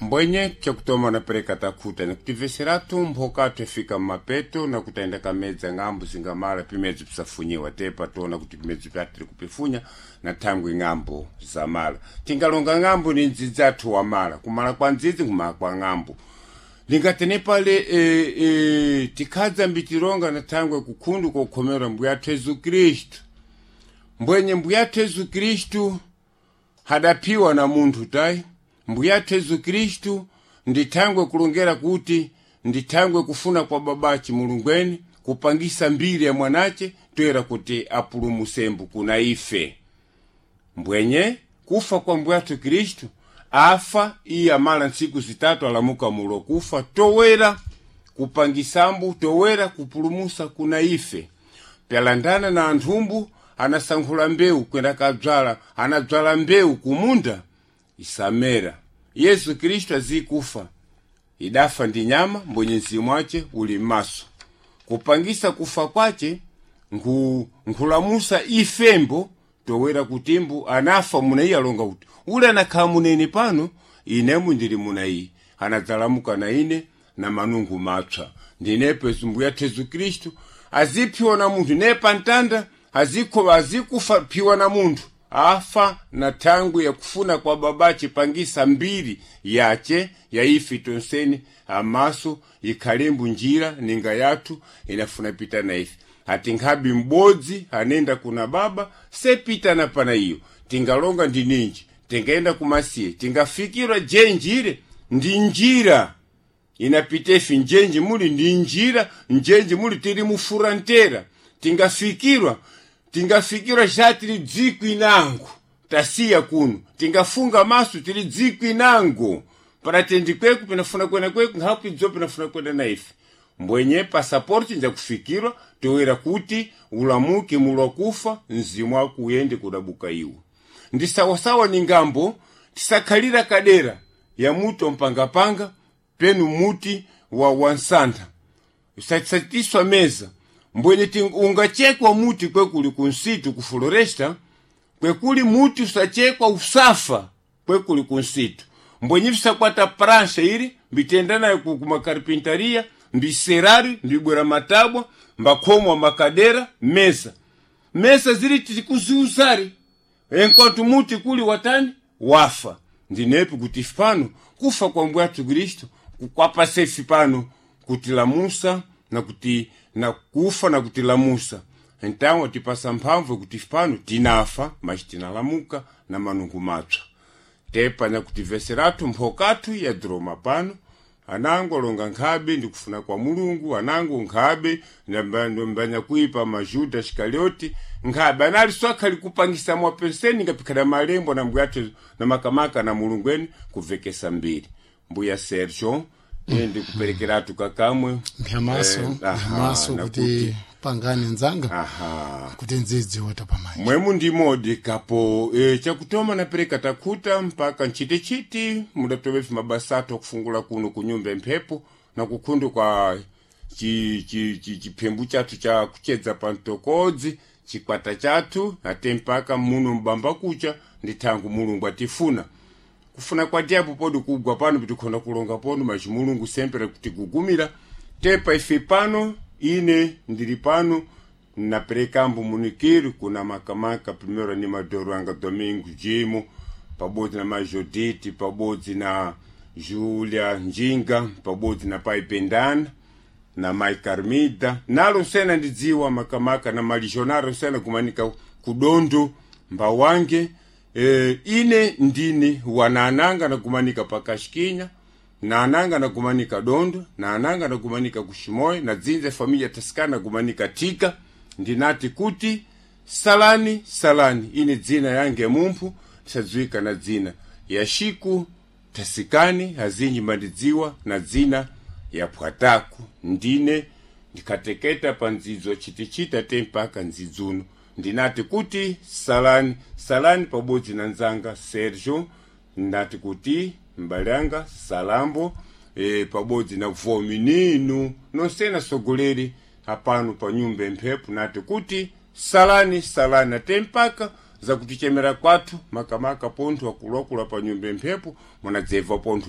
Mbwenye chakutoma napereka takhuta nikutimveseratu mphokathu efika mmapeto nakutayenda kamedza ng'ambo zingamala pimedzi pisafunyiwa tepa tona kuti pimedzi pyatiri kupifunya na thangwi ng'ambo zamala. Tingalonga ng'ambo ni ndzidzi athu wamala, kumala kwa ndzidzi nkumala kwa ng'ambo. Lingatene pale tikhadza mbitilonga na thangwe kukhundu kokhomera mbuya athu Yesu Khristu. Mbwenye mbuya athu Yesu Khristu hadaphiwa na munthu tayi. Mbuya athu Yesu Khristu ndithangwe kulongera kuti ndithangwe kufuna kwa babache Mulungweni kupangisa mbiri ya mwanache toera kuti apulumusembu kuna ife. Mbwenye kufa kwa mbuya athu Khristu afa iye amala ntsiku zitatu alamuka mulo kufa towera kupangisambu towera kupulumusa kuna ife. Pyalandana na anthumbu anasankhula mbewu kwenda kadzwala, anadzwala mbewu kumunda isamera. Yesu Khristu azikufa idafa ndi nyama mbwenye mzimu wace uli m'maso. Kupangisa kufa kwace nkhulamusa ifembo towera kutimbu anafa muna iye alonga kuti ule anakhala munene pano inemu ndili muna iye anadzalamuka na ine na manungu mapsa. Ndinepo mbuya athu Yesu Khristu aziphiwa na munthu ne pantanda azikufa phiwa na munthu afa na thangwi yakufuna kwa babache pangisa mbiri yace ya ife tonseni amaso ikhalembu njira ninga yathu inafuna pita na ife. Ati nkhabi m'bodzi anenda kuna baba sepita na pana iyo. Tingalonga ndi ninji, tingaenda kumasiye, tingafikirwa je njire ndi njira inapita ife njenje muli ndi njira njenje muli tili mufurantera. Tingafikirwa xa tili dziko inango tasiya kuno, tingafunga maso tili dziko inango paratendi kweku pinafuna kwena kweku nkhapu idzo pinafuna kwena na ife. Mbwenye pasaporti njakufikirwa toera kuti ulamuke mulo kufa mzimu wako uyende kudabuka iwo. Ndi sawasawa ni ngambo tisakhalira kadera ya muti wampangapanga penu muti wa wansantha usatiswa meza. Mbwenye ungachekwa muti kwekuli kunsitu ku floresta, kwekuli muti usachekwa usafa kwekuli kunsitu. Mbwenye visakwata prancha ili mbitenda nayo kumakarpintaria mbiserari mbibwera matabwa mbakhomwa makadera mesa mesa zili tikuziuzari enquanto muti kuli watani wafa. Ndinepo kuti pano kufa kwa mbuya athu Khristu kukwapa sefi pano kutilamusa na kuti na kufa na kutilamusa. Então atipasa mphamvu kuti pano tinafa mas tinalamuka na manungu mapsa. Tepa na kutiveseratu mphokathu ya droma pano anango alonga nkhabe ndikufuna kwa Mulungu anango nkhabe mbanya kuipa majuda Iskarioti nkhabe anali swakhali kupangisa mwapenseni ngapikhana malembo na mbuya athu na makamaka na Mulungu kuvekesa mbiri. Mbuya Sergio ende kuperekeratu kakamwe mphamaso mphamaso kuti pangane nzanga kuti ndzidzi wota pamanja mwemu ndi modi kapo chakutoma napereka takhuta mpaka ntchitichiti mudatovepi mabasa athu akufungula kuno kunyumba mphepo na kukhundu kwa chiphembu chathu cha kuchedza pa mtokodzi chikwata chathu ate mpaka muno mbamba kucha ndi thangu Mulungu atifuna. Kufuna kwa diapo podi kugwa pano pitikhonda kulonga pono machi Mulungu sempre kutigugumira. Tepa ife pano ine ndili pano naperekambo munikiru kuna makamaka primeiro animador anga Domingo Jimo pabodzi na Majodite pabodzi na Julia Njinga pabodzi na pai Pendana na mai Carmida nalo sena ndidziwa makamaka na malijonaro sena kumanika kudondo mbawange. Ine ndine wanananga nakumanika pakashikinya nananga nakumanika dondo nananga nakumanika kushimoyo na dzinza familia tasikana nakumanika tika. Ndinati kuti salani salani ine dzina yange mumphu tisadziwika na dzina ya shiku tasikani azinji mandidziwa na dzina ya phwataku. Ndine ndikhateketa pa ndzidzo chitichita te mpaka ndzidzuno. Ndinati kuti salani salani pabodzi na nzanga Sergio ndinati kuti mbale anga Salambo pabodzi na vominino nonsena sogoleri apano pa nyumba emphepo nati kuti salani salani ate mpaka zakutichemera kwathu makamaka pontho akuluakulu pa nyumba emphepo munadzebva pontho.